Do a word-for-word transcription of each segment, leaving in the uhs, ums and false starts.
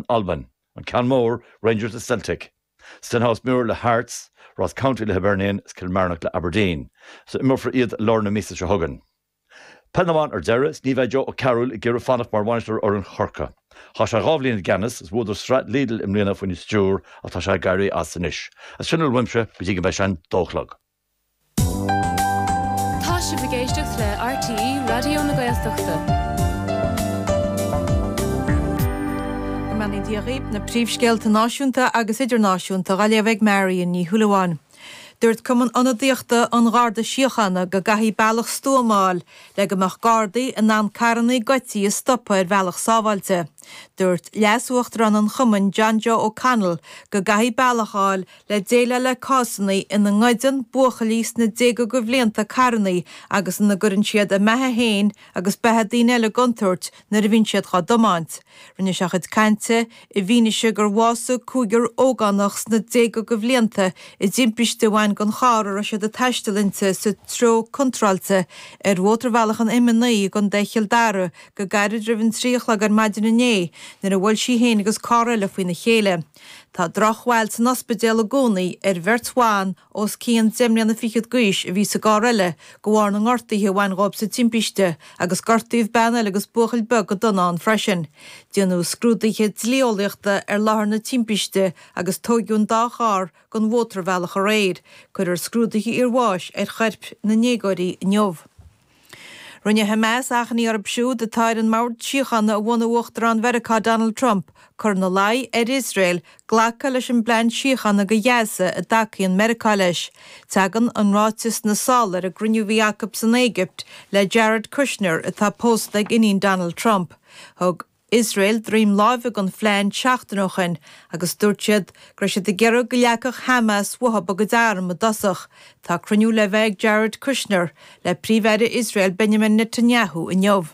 Albain. An ceann mór, Rangers le Celtic. Stenhousemuir le Hearts, Ross County le Hibernian is Kilmarnock le Aberdeen. So imreofar iad lár na míosa seo chugainn. Peil na mban ar deireadh, ní bheidh Joe O'Carroll ag iarraidh fanacht mar bhainisteoir ar fhoireann Chorcaí. Chaith sé dhá bhliain i gceannas is bhuadar sraith Lidl i mbliana faoina stiúir ach tá sé ag éirí as anois. As sin uaimse go dtí go mbeidh sé an dó a chlog. Tá sibh ag éisteacht le RTÉ Raidió na Gaeltachta. Go mbeannaí Dia dhaoibh, na príomhscéalta náisiúnta agus idirnáisiúnta á léamh ag Marion Ní Shúilleabháin. Dúirt Cumann Ionadaíochta an Gharda Síochána go gcaithfidh bealach stuama a fháil le go mbeadh Gardaí in ann carranna goidte a stopadh ar bhealach sábháilte. Dúirt Leas-Uachtarán an Chumainn John Joe O'Connell go gcaithfidh bealach a fháil le déileáil le cásanna ina ngoideann buachaillí sna déaga de bhlianta carranna agus ina gcuireann siad a mbeatha féin agus beatha daoine eile i gcontúirt nuair a bhíonn siad á dtiomáint. Rinne sé a chuid cainte i bhfianaise gur bhásaigh cúigear ógánach sna déaga de bhlianta i dtimpiste a bhain den charr a raibh siad ag taisteal inti sa treo contráilte ar mhótarbhealach an M a naoi i gContae Chill Dara go gairid roimh an trí a chlog ar maidin inné nuair a bhuail sí féin agus carr eile faoina chéile. Tá drochbhail san ospidéal i gcónaí ar bheirt bhan os cionn deich mbliana fichead d'aois a bhí sa gcarr eile de bharr na ngortuithe a bhain dhóibh sa timpiste agus gortaíodh bean eile agus buachaill beag go dona ann freisin. Déanadh scrúduithe dlí-eolaíochta ar láthair na timpiste agus tóigeadh an dá charr den mhótarbhealach aréir. Cuirfear scrúduithe iarbháis ar choirp na ndéagóirí inniu. Rinne Hamas achainí orthu siúd atá ar an mbord síochána a bhunaigh Uachtarán Mheiriceá Donald Trump cur ina luí ar Iosrael glacadh leis an bplean síochána do Ghaza a dtacaíonn Meiriceá leis. Tagann an ráiteas sna sála ar an gcruinniú a bhí acu san Éigipt le Jared Kushner atá pósta ag iníon Donald Trump. Thug Iosrael droim láimhe don phlean seachtain ó shin agus dúirt siad go raibh siad ag iarraidh go leagfadh Hamas uathu a gcuid arm i dtosach. Tá cruinniú le bheith ag Jared Kushner le Príomh-Aire Iosrael Benjamin Netanyahu inniu.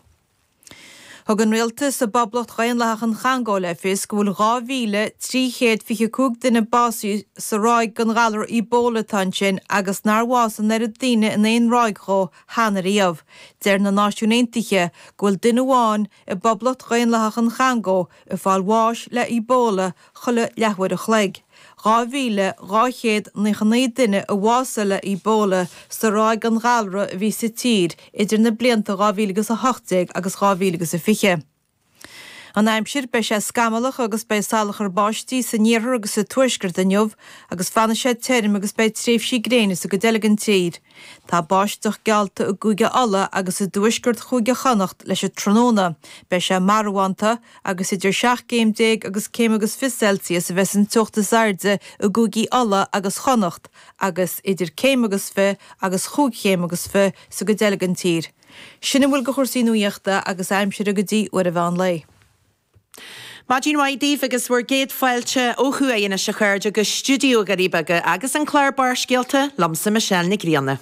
Thug an rialtas i bPoblacht Dhaonlathach an Chongó le fios go bhfuil dhá mhíle trí chéad fiche cúig duine básaithe sa ráig den ghalar Ebola atá ansin agus nár bhásaigh an oiread daoine in aon ráig dhó cheana riamh. Deir na Náisiúin Aontaithe go bhfuil duine amháin i bPoblacht Dhaonlathach an Chongó ag fáil bháis le Ebola chuile leathuair a chloig. dhá mhíle dhá chéad naocha naoi duine a bhásaigh le Ebola sa ráig den ghalra a bhí sa tír idir na blianta dhá mhíle agus a hocht déag agus dhá mhíle agus a fiche. An aimsir, Beidh sé scamallach agus beidh salachar báistí san iarthar agus sa tuaisceart inniu agus fanfaidh sé tirim agus beidh tréimhsí gréine sa gcuid eile den tír. Tá báisteach geallta i gCúige Uladh agus i dtuaisceart Chúige Chonnacht leis an tráthnóna. Beidh sé marbhánta agus idir seacht gcéim déag agus céim agus fiche Celsius a bheas an teocht is airde i gcúigí Uladh agus Chonnacht agus idir céim agus fiche agus chúig chéim agus fiche sa gcuid eile den tír. Sin a bhfuil de chúrsaí nuachta agus aimsire go dtí uair an mheán lae. Maidin mhaith daoibh agus bhur gcéad fáilte ó thuaidh anois a chairde go stiúideo Dhoirí Beaga agus an clár Barrscéalta liomsa Michelle Nic Grianna.